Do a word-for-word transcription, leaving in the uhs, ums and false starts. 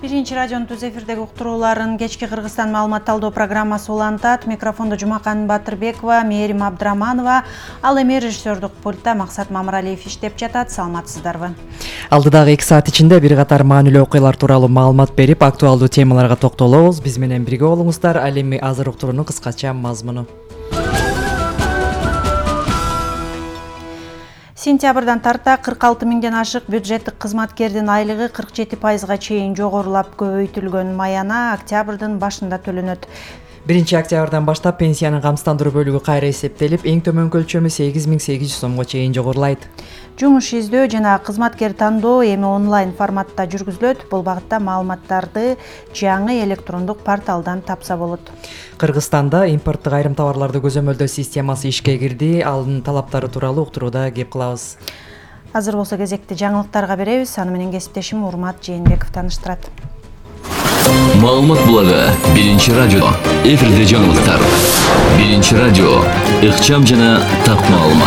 Биринчи радионун түз эфирдеги уктурууларын кечки Кыргызстан маалымат талдоо программасы улантат. Микрофондо Жумакан Батырбекова, Мээрим Абдраманова, ал эми режиссердук пультта Максат Мамыралиев иштеп жатат. Саламатсыздарбы? Алдыдагы эки саат ичинде бир катар маанилүү окуялар тууралуу маалымат берип, актуалдуу темаларга токтолобуз. Биз менен бирге болуңуздар. Ал эми азыр уктуруунун кыскача мазмуну. Сентябрдан тарта кырк алты миңден ашык бюджеттик кызматкердин айлыгы кырк жети пайызга чейин жогорулап көбөйтүлгөн. Маяна октябрдын башында төлөнөт. Биринчи октябрдан баштап пенсиянын камсыздандыруу бөлүгү кайра эсептелип, эң төмөн көлчөмү сегиз миң сегиз жүз сомго чейин жогорулайт. Жумуш издөө жана кызматкер тандоо эми онлайн форматта жүргүзүлөт. Бул багытта маалыматтарды жаңы электрондук порталдан тапса болот. Кыргызстанда импорттук айрым товарларды көзөмөлдөө системасы ишке кирди. Анын талаптары тууралуу уктурууда кеп кылабыз. Азыр болсо кезекти жаңылыктарга беребиз. Аны менен кесиптешим Урмат Жээнбеков тааныштырат. Маалымат булагы Биринчи радио. Эфирде жаңылыктар. Биринчи радио. Ыкчам жана так маалымат.